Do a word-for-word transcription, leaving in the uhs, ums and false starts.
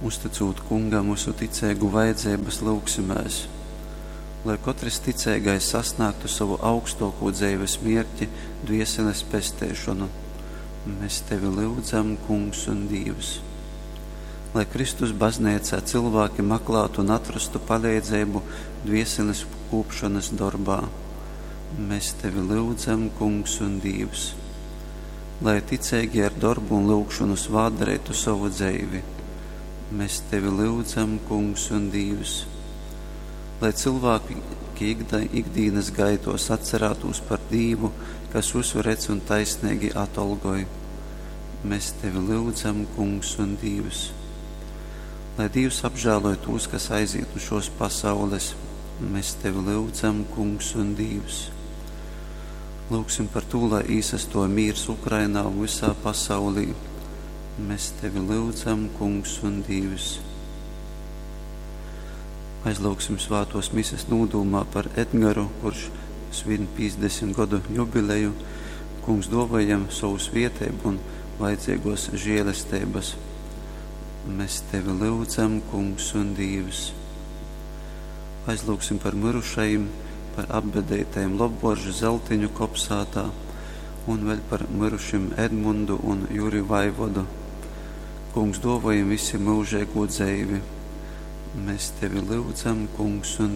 Uztycūt Kungam vysu ticeigu vajadzeibas, lyugsimēs, lai kotrs ticeigais sasnāgtu sovu augstōkū dzeives mierķi, dvieseles pesteišonu. Mēs Tevi lyudzam, Kungs un Dīvs. Lai Kristus Bazneicā cylvāki maklātu un atrostu paleidzeibu dvieseles kūpšonys dorbā. Mēs Tevi lyudzam, Kungs un Dīvs. Lai ticeigī ar dorbu un lyugšonu svātdareitu sovu dzeivi. Mēs Tevi lyudzam, Kungs un Dīvs. Lai cylvāki ikdīnas gaituos atcerātūs par Dīvu, kas vysu redz un taisneigi atolgoj. Mēs Tevi lyudzam, Kungs un Dīvs. Lai Dīvs apžēloj tūs, kas aizīt nu šōs pasaules. Mēs Tevi lyudzam, Kungs un Dīvs. Lyugsim par tū, lai īsastuoj mīrs Ukrainā un vysā pasaulī. Mēs Tevi lyudzam, Kungs un Dīvs. Aizlyugsim svātōs mises nūdūmā par Edgaru, kurš svin pīcdesmit godu jubileju. Kungs duovoj jam sovu svieteibu un vajadzeiguos žielesteibys. Mēs Tevi lyudzam, Kungs un Dīvs. Aizlyugsim par myrušajim, par apbedeitajim Lobvuoržu Zeltiņu kopsātā un vēļ par myrušim Edmundu un Juri Vaivodu. Kungs duovoj jim vysim myužeigū dzeivi. Mēs Tevi lyudzam, Kungs un